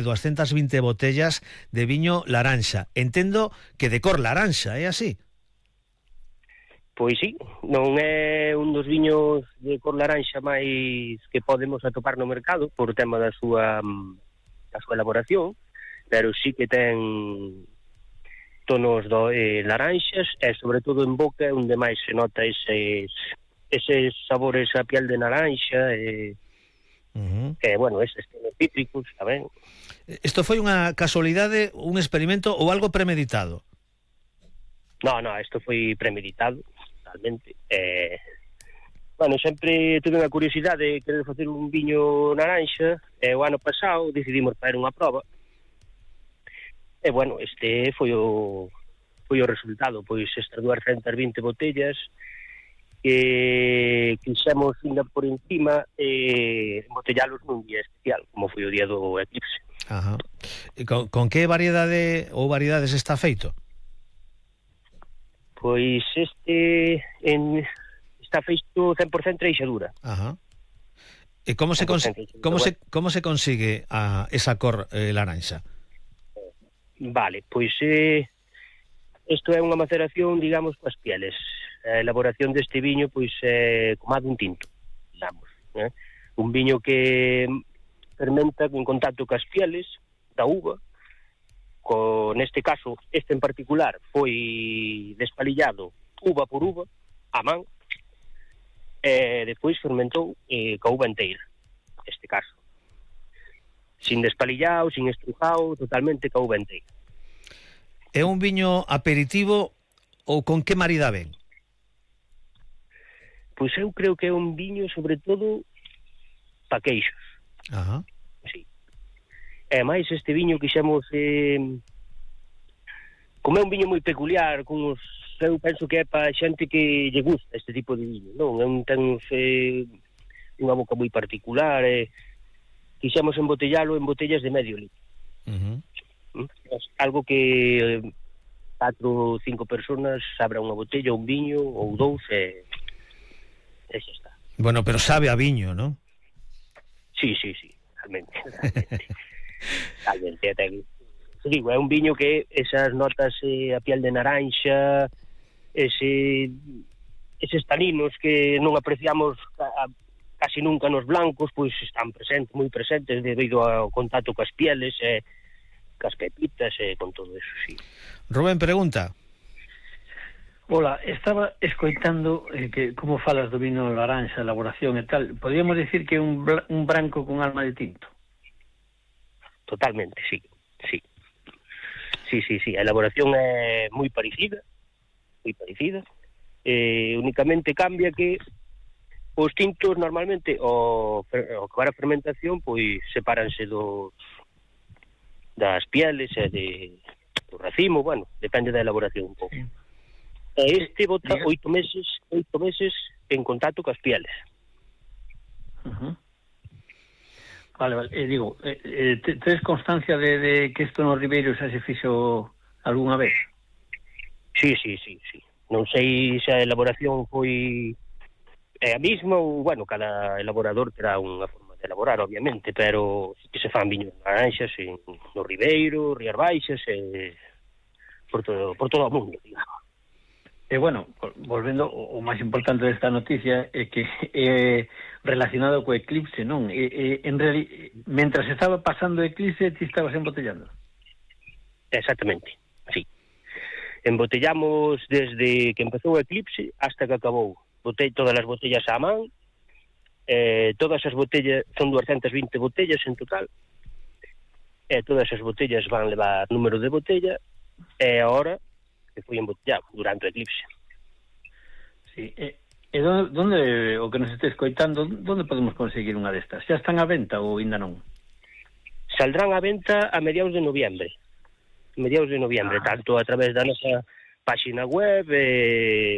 220 botellas de viño laranxa. Entendo que de cor laranxa, é así? Pois sí, non é un dos viños de cor laranxa máis que podemos atopar no mercado por tema da súa elaboración, pero sí que ten tonos laranxas e sobre todo en boca onde máis se nota eses sabores a piel de naranxa e bueno, eses tonos cítricos tamén. Isto foi unha casualidade, un experimento ou algo premeditado? No, isto foi premeditado totalmente. Bueno, sempre tuve unha curiosidade de querer facer un viño naranxa e o ano pasado decidimos fazer unha proba e bueno, este foi o resultado, pois estas 220 botellas que quixemos ainda por encima embotellalos nun día especial, como foi o día do eclipse. Ajá. E con que variedade ou variedades está feito? Pois está feito 100% treixadura. Ajá. E como se consigue esa cor laranxa? Vale, pois isto é unha maceración, digamos, coas pieles. A elaboración deste viño, pois, é como a dun tinto, digamos. Un viño que fermenta en contacto coas pieles da uva. Neste caso, este en particular, foi despalillado uva por uva, a man, e depois fermentou coa uva inteira, neste caso. Sin despalillado, sin estrujado, totalmente coa uva inteira. É un viño aperitivo ou con que marida ben? Pois eu creo que é un viño, sobre todo, pa queixos. Ajá. Sí. E máis este viño quixemos... como é un viño moi peculiar, eu penso que é pa xente que lle gusta este tipo de viño, non? Ten unha boca moi particular, quixemos embotellalo en botellas de medio litro. Algo que 4 ou 5 personas abra unha botella, un viño ou 2 e xa está. Bueno, pero sabe a viño, non? Sí, realmente. Digo, é un viño que esas notas a piel de naranxa, eses taninos que non apreciamos casi nunca nos blancos, pois están presentes, moi presentes debido ao contacto coas pieles e cas pepitas e con todo eso, sí. Rubén, pregunta. Hola, estaba escoitando que como falas do vino laranxa, elaboración e tal. Podríamos decir que é un branco con alma de tinto? Totalmente, sí. A elaboración é moi parecida. Únicamente cambia que os tintos normalmente ao acabar a fermentación pois sepáranse das pieles e do racimo, bueno, depende da elaboración un pouco. E este bota 8 meses en contacto coas pieles. Vale, digo, tes constancia de que isto no Ribeiro xa se fixo algunha vez? Sí. Non sei se a elaboración foi a mesma ou, bueno, cada elaborador terá unha forma de elaborar, obviamente, pero sí que se fan viños naranxas no Ribeiro, Rías Baixas e por todo o mundo, digamos. E bueno, volvendo, o máis importante desta noticia é que é relacionado co eclipse, non? Mentras estaba pasando o eclipse, ti estabas embotellando? Exactamente, sí. Embotellamos desde que empezou o eclipse hasta que acabou. Botei todas as botellas á man, todas as botellas, son 220 botellas en total, e todas as botellas van levar número de botella, e agora que foi embotellado durante o eclipse. Sí, e donde o que nos este escoitando, donde podemos conseguir unha destas? Xa están á venta ou ainda non? Saldrán á venta a mediados de noviembre, tanto a través da nosa página web,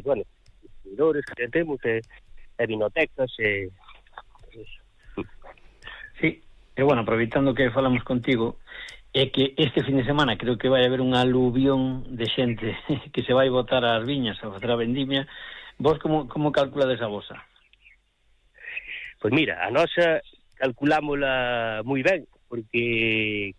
bueno, distribuidores que temos, e vinotecas, Sí, e bueno, aproveitando que falamos contigo, é que este fin de semana creo que vai haber unha aluvión de xente que se vai botar ás viñas a facer a vendimia. Vos como calculades a vosa? Pois mira, a nosa calculámola moi ben, porque